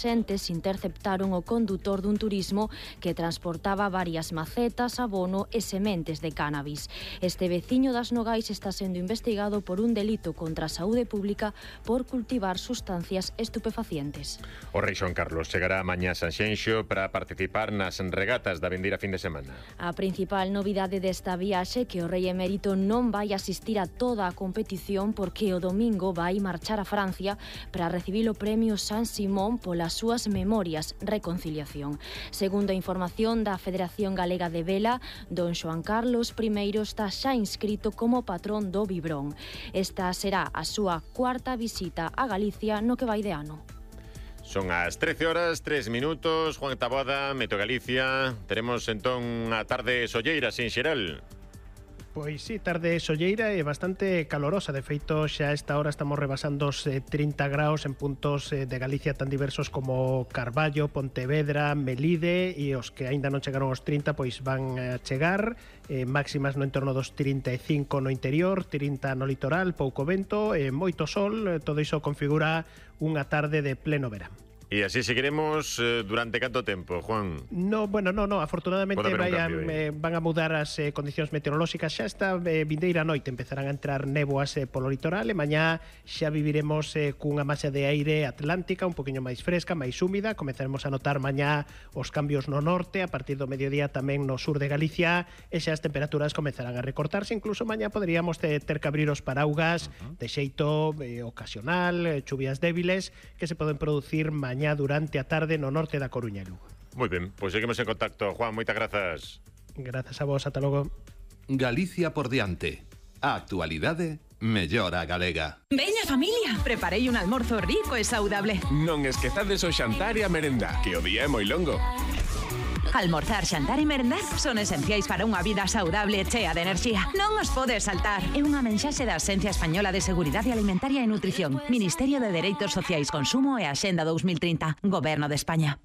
axentes interceptaron o condutor dun turismo que transportaba varias macetas, abono e sementes de cannabis. Este veciño das Nogais está sendo investigado por un delito contra a saúde pública por cultivar sustancias estupefacientes. O rei Xoán Carlos chegará mañá a Sanxenxo para participar nas regatas da vindeira fin de semana. A principal novidade desta viaxe que o rei emérito non vai asistir a toda a competición porque o domingo vai marchar a Francia para recibir o premio San Simón polas súas memorias Reconciliación. Segundo a información da Federación Galega de Vela, don Xoán Carlos I está xa inscrito como patrón do Vibrón. Esta será a súa cuarta visita a Galicia no que vai de ano. Son as 13 horas, 3 minutos. Juan Taboada, Meteo Galicia. Teremos entón a tarde solleira, sin xeral. Pois sí, tarde solleira e bastante calorosa. De feito, xa a esta hora estamos rebasando os 30 graus en puntos de Galicia tan diversos como Carballo, Pontevedra, Melide, e os que aínda non chegaron aos 30 pois van a chegar. Máximas no entorno dos 35 no interior, 30 no litoral, pouco vento, moito sol. Todo iso configura unha tarde de pleno verán. E así seguiremos durante canto tempo, Juan? No, afortunadamente van a mudar as condicións meteorolóxicas. Xa esta vindeira noite empezarán a entrar néboas polo litoral e mañá xa viviremos cunha masa de aire atlántica un poquinho máis fresca, máis húmida. Comezaremos a notar mañá os cambios no norte, a partir do mediodía tamén no sur de Galicia, e xa as temperaturas comezarán a recortarse. Incluso mañá poderíamos ter que abrir os paraugas de xeito ocasional, chuvias débiles que se poden producir mañá durante a tarde no norte da Coruña e Lugo. Moi ben, pois seguimos en contacto. Juan, moitas grazas. Grazas a vos, ata logo. Galicia por diante. A actualidade mellor a galega. Veña familia, preparei un almorzo rico e saudable. Non esquezades o xantar e a merenda, que o día é moi longo. Almorzar, xantar e merendar son esenciais para unha vida saudable e chea de enerxía. Non os podes saltar. É unha mensaxe da Axencia Española de Seguridade Alimentaria e Nutrición, Ministerio de Dereitos Sociais, Consumo e Axenda 2030, Goberno de España.